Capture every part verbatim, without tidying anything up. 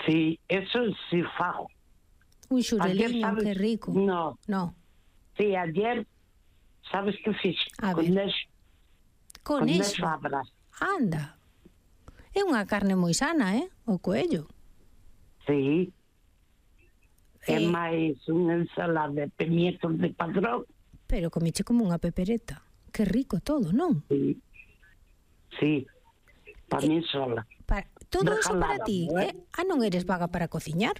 Sí, eso sí fago. Un xureliño, que rico. No. No. Sí, ayer, sabes que fixe? A ver. Conexo. Conexo. Conexo a brasa. Anda. É unha carne moi sana, eh? O coello. Sí. É Eh, máis unha ensalada de pimientos de padrón. Pero comeche como unha pepereta. Que rico todo, non? Sí. Sí. Para Eh, mí sola. Para, todo eso para Regalada, ti, ¿eh? eh? Ah, non eres vaga para cociñar?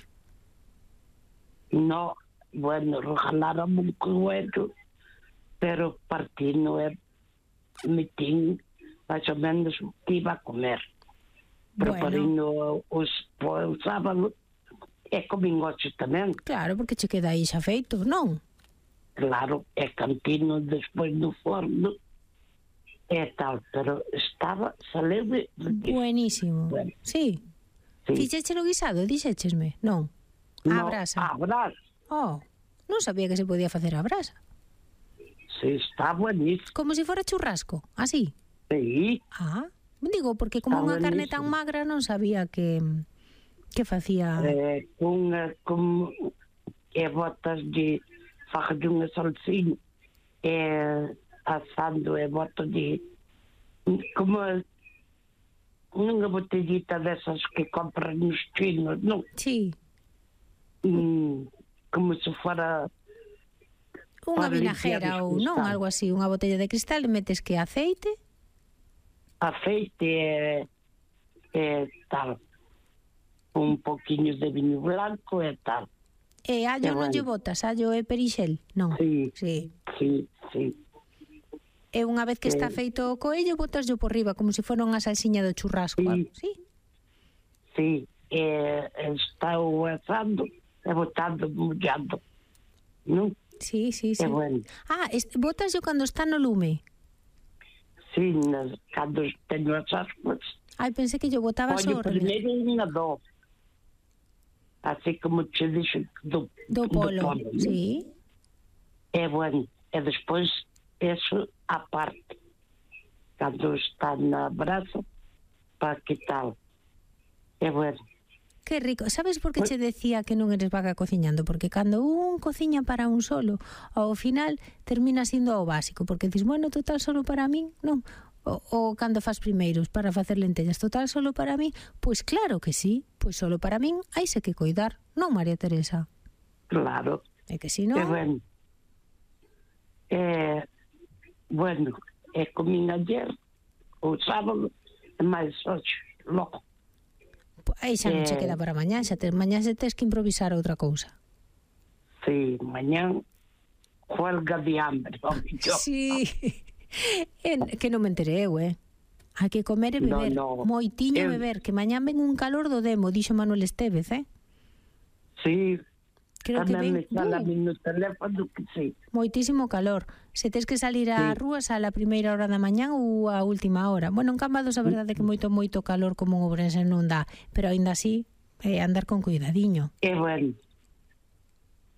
No, bueno, regalaron un coelho, pero partí no é metín máis ou menos o que iba a comer. Preparei Bueno. no os, o sábado e comín ocho tamén. Claro, porque che queda aí xa feito, non? Claro, é cantino despois do forno e tal, pero estaba saleu buenísimo. Bueno. Sí. Sí. Fixéchelo guisado, dixéchesme, non? A No, brasa. a brasa. Oh, non sabía que se podía facer a brasa. Sí, está buenísimo. Como se si fora churrasco, así. Sí. Ah, digo, porque como Está unha carne tan buenísimo. magra non sabía que que facía... Eh, con, con e botas de faja de unha salsinha e asando e botas de como unha botellita dessas que compran nos chinos, non? Sí. Mm, como se fora Unha para vinajera limpiar os ou non, cristales. algo así, unha botella de cristal e metes que aceite, Aceite e, e tal, un poquinho de viño blanco e tal. e allo E non bueno. lle botas, allo e perixel, non? Sí, Sí. sí, sí. E unha vez que está Eh. feito o coello, botaslo por riba, como se fora unha salsiña do churrasco, Sí. algo así. Sí, e está o asando e botando, mollando, non? Sí, sí, sí. É bueno. Ah, este, botaslo cando está no lume. Sí, nas, cando teño as aspas, Ai, pensei que yo botabas ollo o revés. primeiro unha do. Así como che dixo do, Do polo, non? sí. É bueno. E despois, eso aparte. Cando está na brasa, para que tal. É bueno. Que rico. Sabes por que che decía que non eres vaga cociñando? Porque cando un cociña para un solo, ao final termina sindo o básico, porque dis, bueno, total solo para min, non? O, o cando fas primeiros para facer lentellas, total solo para min, pois claro que sí, pois solo para min haise que coidar, non, María Teresa? Claro. É que si É non... bueno. É, bueno, é comín ayer, o sábado, e máis ocho, loco. Aí xa non che Eh. queda para mañá, xa te, mañá se tes que improvisar outra cousa. Sí, mañán, huelga de hambre. Yo. Sí, en, que non me enterei eu, eh? Hai que comer e No, beber, no. moitiño Eu- beber, que mañán ven un calor do demo, dixo Manuel Estévez, eh? Sí, Creo que tamén me ven sala uh, no teléfono que sí. moitísimo calor. Se tes que salir á Sí. rúa, sal a primeira hora da mañán ou a última hora. Bueno, en Cambados a verdade é que moito, moito calor como en Ourense non dá, pero aínda así, eh, andar con cuidadiño. É bueno.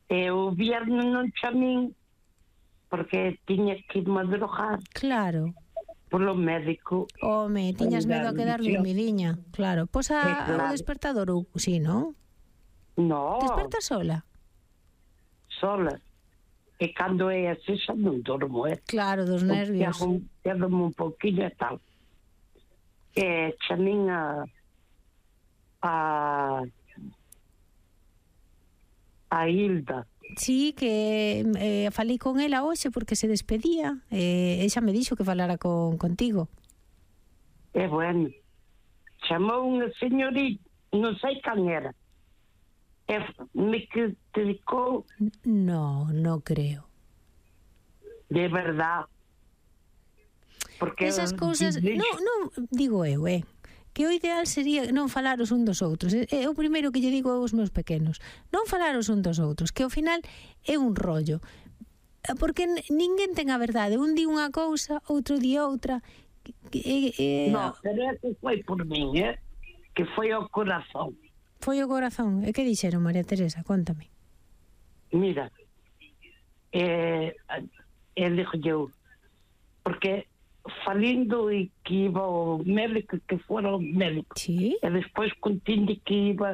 E o viernes non chamín porque tiña que ir madrugar Claro. polo médico. Home, tiñas medo a quedar Visión. dormidiña. Claro. Pois a, Eh, claro. o despertador, ou si, non? No, Desperta sola? sola. E cando é así xa non dormo, é. Claro, dos nervios. Quedo-me un poquinho e tal. E chamín a a a Hilda. Sí, que eh, falei con ela hoxe porque se despedía. Eh, ella me dixo que falara con, contigo. É bueno. Chamou unha señorita, non sei can era. E me que dedicou No, no creo. de verdad. Porque Esas cousas, dixo- non, non, digo eu, eh, que o ideal sería non falaros un dos outros. É, é o primeiro que lle digo aos meus pequenos. Non falaros un dos outros, que ao final é un rollo. Porque n- ninguén ten a verdade. Un di unha cousa, outro di outra. Que, eh, eh, No, pero ese foi por min, eh? Que foi ao corazón. Foi o corazón. E que dixeron, María Teresa? Contame. Mira, eh, e dixo eu, porque falindo e que iba ao médico, que fora ao médico, Sí? e despois continde que iba